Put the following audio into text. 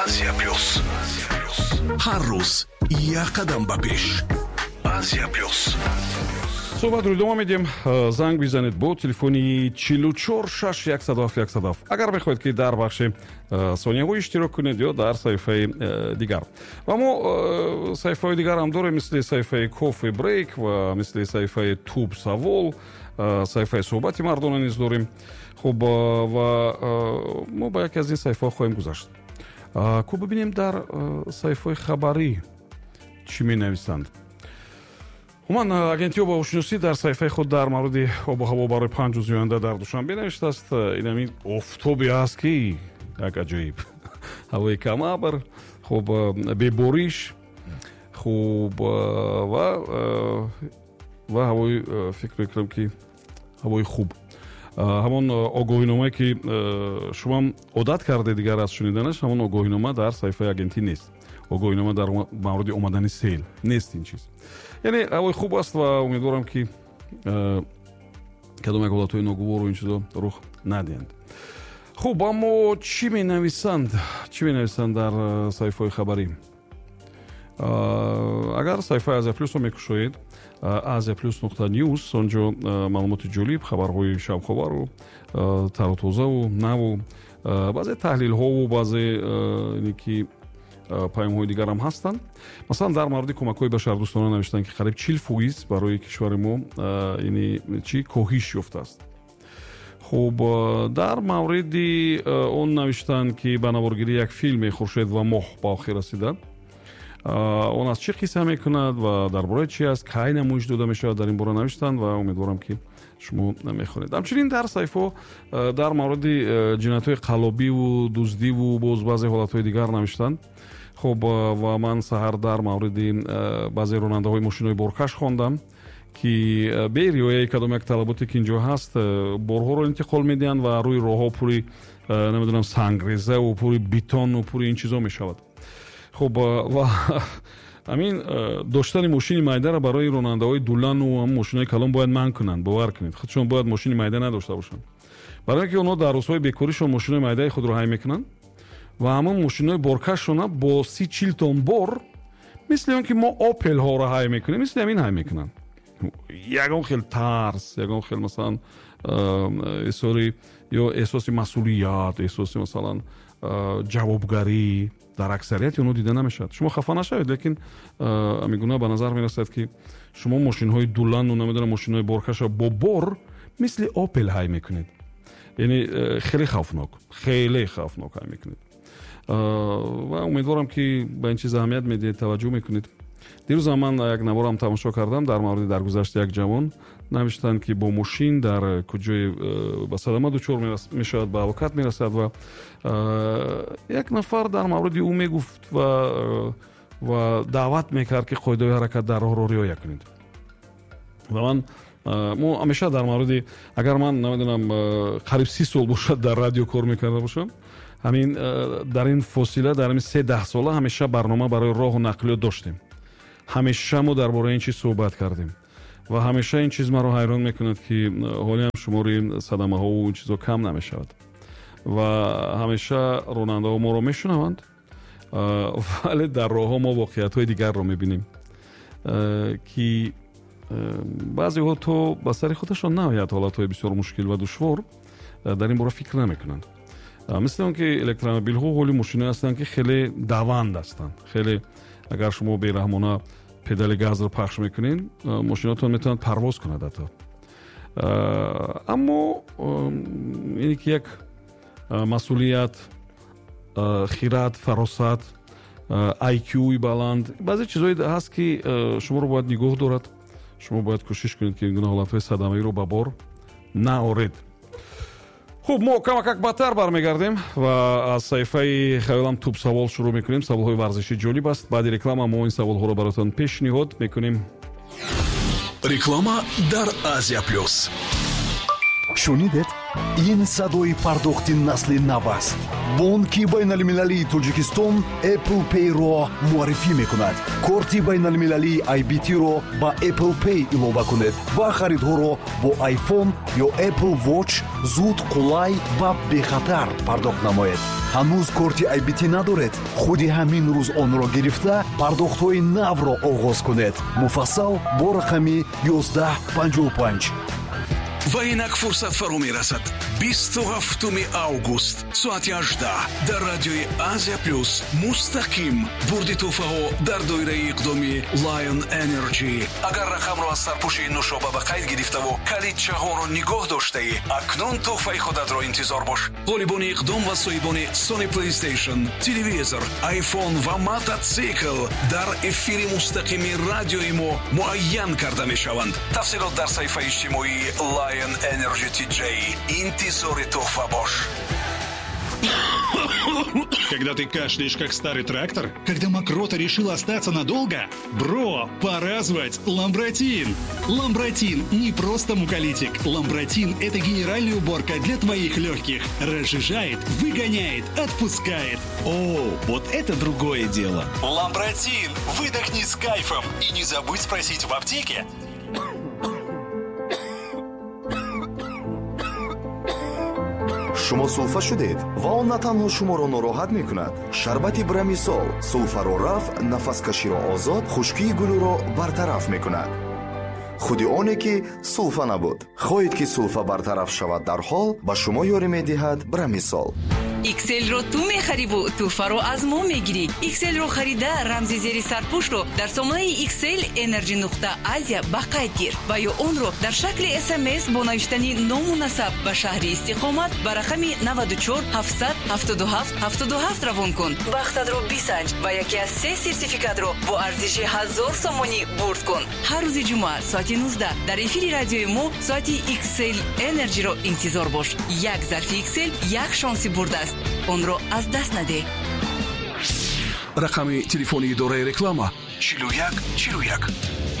Азия Плюс. Ҳар рӯз як қадам ба пеш. Азия Плюс. Суҳбатро идома медиҳем. Занг бизанед бо телефони 44 6 107 107, агар мехоҳед, ки дар бахши сонияҳо иштирок кунед ё дар саҳифаи дигар. Ва мо саҳифаҳои дигарам дорем, мисли саҳифаи Кофе Брейк ва мисли саҳифаи Туб Савол, саҳифаи Суҳбати мардона низ дорем. Хуб, ва мо ба яке аз ин саҳифаҳо хоҳем гузашт. Ку бибинем, дар саҳифаҳои хабарӣ чӣ менависанд. Умуман, агентии обҳавошиносӣ дар саҳифаи худ дар мавриди обу ҳаво барои 5 рӯзи оянда дар Душанбе навиштааст: инамин офтобе аст, ки як аҷоиб ҳавои камабр, хуб, бебориш, хуб, ва ҳавои, фикр мекунам, ки ҳавои хуб. Ҳамон огоҳиномае, ки шумоам одат кардед дигар аз шуниданаш, ҳамон огоҳинома дар саҳифаи агентӣ нест. Огоҳинома дар мавриди омадани сел нест ин чиз. Яъне ҳавои хуб аст ва умедворам, ки кадом як ҳолатҳои ногувору ин чизо рух надиҳанд. Хуб, аммо чӣ менависанд, чӣ менависанд дар саҳифаҳои хабарӣ? Агар саҳифаи Азия Плюсро мекушоед, asiaplus.news, онҷо маълумоти ҷолиб, хабарҳои шавқовару тару тозаву наву баъзе таҳлилҳову баъзе ине ки паёмҳои дигарам ҳастанд. Масалан, дар мавриди кӯмакҳои башардӯстона навиштанд, ки қариб 40% барои кишвари мо ини чӣ коҳиш ёфтааст. Хуб, дар мавриди он навиштанд, ки ба наворгирии як филме «Хуршед ва моҳ» ба охир расида. Он аз чӣ қисса мекунад ва дар бораи чи аст, кай намоиш дода мешавад, дар ин бора навиштанд ва умедворам, ки шумо мехонед. Ҳамчунин дар саҳифаҳо дар мавриди ҷиноятҳои қаллобиву дуздиву боз баъзе ҳолатҳои дигар навиштанд. Хуб, ва ман саҳар дар мавриди баъзе ронандаҳои мошинои боркаш хондам, ки бе риояи кадом як талаботе, ки инҷо ҳаст, борҳоро интиқол медиҳанд ва рӯи роҳҳо пури, намедонам, сангрезаву пури бетону пури ин чизо мешавад. Хуб, ва ҳамин доштани мошини майдаро барои ронандаҳои дулану мошинои калон бояд манъ кунанд. Бовар кунед, худшон бояд мошини майда надошта бошанд, барои ин ки онҳо дар рӯзҳои бекоришон мошинои майдаи худро ҳай мекунанд ва ҳамон мошинои боркашона бо 30-40 тон бор, мисли он ки мо Опелҳоро ҳай мекунем, мисли ҳамин ҳай мекунанд. Ягон хел тарс, ягон хел, масалан, эҳсори ё эҳсоси масъулият, эҳсоси, масалан, ҷавобгарӣ дар аксарияти онҳо дида намешавад. Шумо хафа нашавед, лекин ҳамин ба назар мерасад, ки шумо мошинҳои дулану, намедонам, мошинҳои боркаша бо бор мисли Опел ҳай мекунед. Яъне хеле хавфнок, хеле хавфнок ҳай мекунед. Ва умедворам, ки ба ин чиз аҳамият медиҳед, таваҷҷӯҳ мекунед. Дирӯзам ман як наворам тамошо кардам, дар мавриди даргузашти як ҷавон навиштанд, ки бо мошин дар куҷое ба садама дучор мешавад, ба ҳалокат мерасад ва як нафар дар мавриди ӯ мегуфт ва даъват мекард, ки қоидаҳои ҳаракат дар роҳро риоя кунед. Ва ман, мо ҳамеша дар мавриди, агар ман намедонам, қариб 30 сол бошад дар радио кор мекарда бошам, ҳамин дар ин фосила, дар ҳамин се даҳсола ҳамеша барнома барои роҳу нақлиёт доштем, ҳамеша мо дар бораи ин чиз суҳбат кардем ва ҳамеша ин чиз маро ҳайрон мекунад, ки ҳолиам шумори садамаҳову ин чизо кам намешавад ва ҳамеша ронандаҳо моро мешунаванд, вале дар роҳҳо мо воқеиятҳои дигарро мебинем, ки баъзеҳо то ба сари худашон наояд ҳолатҳои бисёр мушкил ва душвор, дар ин бора фикр намекунанд. Мисли он ки электромобилҳо ҳоли мошиное ҳастанд, ки хеле даванд ҳастанд. Хеле агар шумо бераҳмона педали газро пахш мекунед, мошинотон метавонад парвоз кунад ҳатто. Аммо ине ки як масъулият, хират, фаросат, IQ-и баланд, баъзе чизҳое ҳаст, ки шуморо бояд нигоҳ дорад. Шумо бояд кӯшиш кунед, ки ин гуна ҳолатҳои садамавиро ба бор наоред. Хуб, мо камакак баъдтар бармегардем ва аз саҳифаи хаёлам Туб Савол шурӯъ мекунем. Саволҳои варзишӣ ҷолиб аст. Баъди реклама мо ин саволҳоро баротон пешниҳод мекунем. Реклама дар Азия Плюс. Шунидед? Ин садои пардохти насли нав аст. Бонки байналмилалии Тоҷикистон Apple Pay-ро муаррифӣ мекунад. Корти байналмилалии IBT-ро ба Apple Pay илова кунед ва харидҳоро бо iPhone ё Apple Watch зуд, қулай ва бехатар пардохт намоед. Ҳанӯз корти IBT надоред? Худи ҳамин рӯз онро гирифта, пардохтҳои навро оғоз кунед. Муфассал бо рақами 1155. Ва инак фурсат фаро мерасад. 27 август, соати 18, дар радиои Азия Плюс мустақим бурди тӯҳфаҳо дар доираи иқдоми Lion Energy. Агар рақамро аз сарпӯши нушоба ба қайд гирифтаву калидчаҳоро нигоҳ доштаӣ, акнун тӯҳфаи худатро интизор бош. Ғолибони иқдом ва соҳибони Sony PlayStation, телевизор, iPhone ва мототсикл дар эфири мустақими радиои мо муайян карда мешаванд. Тафсилот дар саҳифаи иҷтимоии Lion Energy TJ. Интизори тӯҳфа бош. Когда ты кашляешь, как старый трактор? Когда мокрота решила остаться надолго? Бро, пора звать Ламбратин! Ламбратин не просто муколитик. Ламбратин – это генеральная уборка для твоих легких. Разжижает, выгоняет, отпускает. О, вот это другое дело. Ламбратин! Выдохни с кайфом. И не забудь спросить в аптеке. Шумо сулфа шудед ва он на танҳо шуморо нороҳат мекунад. Шарбати Брамисол сулфаро рафъ, нафаскаширо озод, хушкии гулӯро бартараф мекунад. Худи оне ки сулфа набуд. Хоҳед, ки сулфа бартараф шавад дарҳол, ба шумо ёрӣ медиҳад Брамисол. XL-ро ту мехариву тӯҳфаро аз мо мегирӣ. XL-ро харида, рамзи зери сарпӯшро дар сомонаи XL Energy нуқта Азия ба қайд гир ва ё онро дар шакли СМС бо навиштани ному насаб ба шаҳри истиқомат ба рақами 94 777 77 равон кун. Бахтатро бисанҷ ва яке аз се сертификатро бо арзиши 1000 сомонӣ бурд кун. Ҳар рӯзи ҷумъа соати 19 дар эфири радиои мо соати XL Energy-ро интизор бош. Як зарфи XL як шонси бурд аст, онро аз даст надеҳ. Рақами телефони идораи реклама: 41 41.